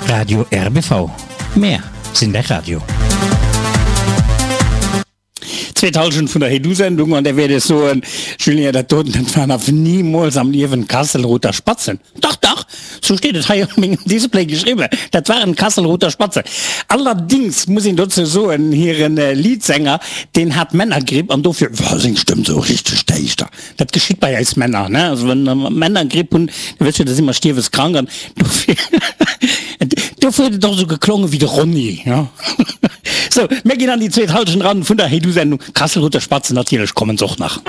Radio RBV, Mär sinn däi Radio. Zweet Halschent vun der Hey-Du-Sendung an där wäert ech soen, Julien, dat doten, dat waren awer nimools am Liewen Kasselruther Spatzen. Dach, dach, sou steet et hei op mengem Display geschriwwen, dat waren Kasselruther Spatzen. Allerdings muss een dozou soen, hiren Leadsänger, deen hat Männergripp an dofir war seng Stëmm sou richteg däischter. Dat geschitt bei eis Männer, ne? Also wann mer Männergripp hunn, da wësst jo, da si mer stierweskrank an dofir, dofir huet et och esou geklongen wéi de Ronny, ja. Sou, mir ginn an déi zweet Halschent eran vun der Hey-Du-Sendung. Kasselruther Spatzen, natierlech kommen se och nach.